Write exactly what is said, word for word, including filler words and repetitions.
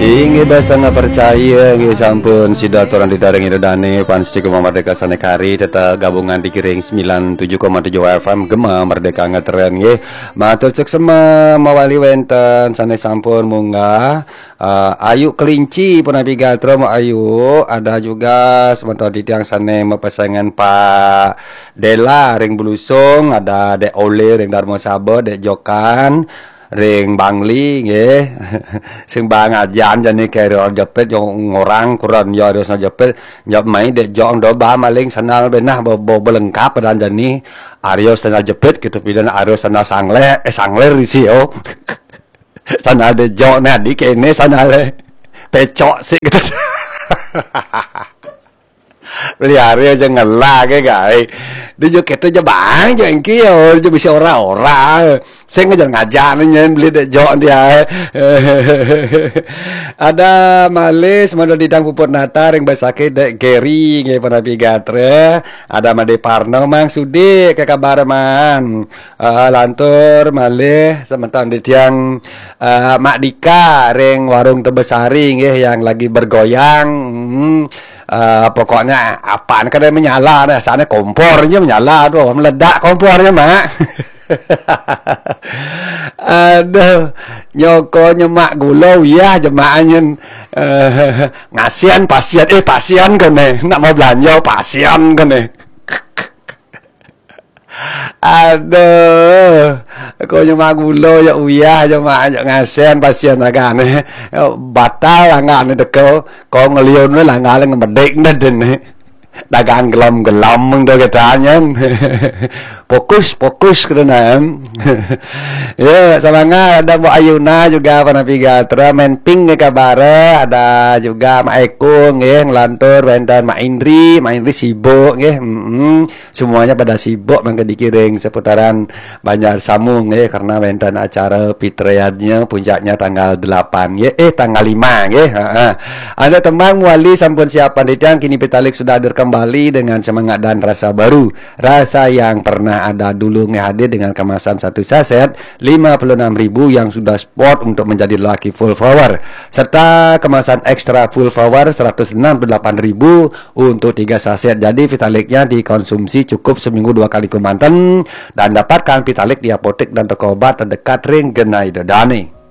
Inggih, basa nggak percaya, inggih sampun sida aturang ditaring ida dane, fans Gema Merdeka sane kari, tetap gabungan di Kiring sembilan tujuh koma tujuh F M, Gema Merdeka ngetren, nggih. Matur suksema mawali wenten sane sampun munggah. Eh, Ayu Kelinci punapi gatra, Mbok Ayu, ada juga semeton titiang sane mapesengan Pak Dela ring Belusung, ada Dek Ole ring Darmo Saba, Dek Jokan ring Bangli, nggih. Sing bang ajan jani kere jepit, yang ngorang kuran ya harus jepit, jawab mai Dek Jok do ba maling sandal benah bo, bo belengkap dan jani Aryo sandal jepit gitu, pidan Aryo sandal sangle, eh, sangler isi, oh. Sandal Dek Jok nadi kene sandale pecok sik gitu. Beli hari aja ngelah ke gai. Dia juga kata aja bang, aja engki ya, aja bisa ora-ora. Saya ngajar-ngajar nih nyen beli Dek Jok dia. Ada Malis, Mando Didang Puput Nata, ring Basake Dek Geri, nggih, punapi gatra. Ada Made Parno, Mang Sudi, ke kabar man. Eh, lantur malih semeton titiang, eh, Mak Dika ring Warung Tebesari, nggih, yang lagi bergoyang. Hmm. Eh, pokoknya apaan kada menyala, rasanya kompor aja menyala tuh, meledak kompornya, Mak. Aduh, nyoko nyemak gula, uyah jemaahnya. Eh, ngasihan pasien, eh, pasien kene, nak mau belanja pasien kene. Aduh, ko nyemak gula ya uyah, nyemak ya ngasihan pasien agane. Batal langgane teko, ko ngeliun we langgane ngemedik ne dene. Dagang gelom-gelom mung do ketanyen. Fokus, fokus kena. Ya, semangat ada Mbok Ayuna juga, punapi gatra, main ping ke kabare, ada juga Mak Eko nggih, ngelantur wenten Mak Indri, Mak Indri sibuk nggih. Mm-mm. Semuanya pada sibuk mangke dikiring seputaran Banjar Samu nggih, karena wenten acara pitreannya puncaknya tanggal delapan nggih, eh, tanggal lima nggih. Heeh. Anda tembang muali sampun siapan titiang, kini Pitalik sudah hadir kembali dengan semangat dan rasa baru. Rasa yang pernah ada dulu nggih hadir dengan kemasan satu saset lima puluh enam ribu yang sudah spot untuk menjadi lucky full power. Serta kemasan extra full power seratus enam puluh delapan ribu untuk tiga saset. Jadi Vitaliknya dikonsumsi cukup seminggu dua kali kemanten dan dapatkan Vitalik di apotek dan toko obat terdekat ring genah ida dane.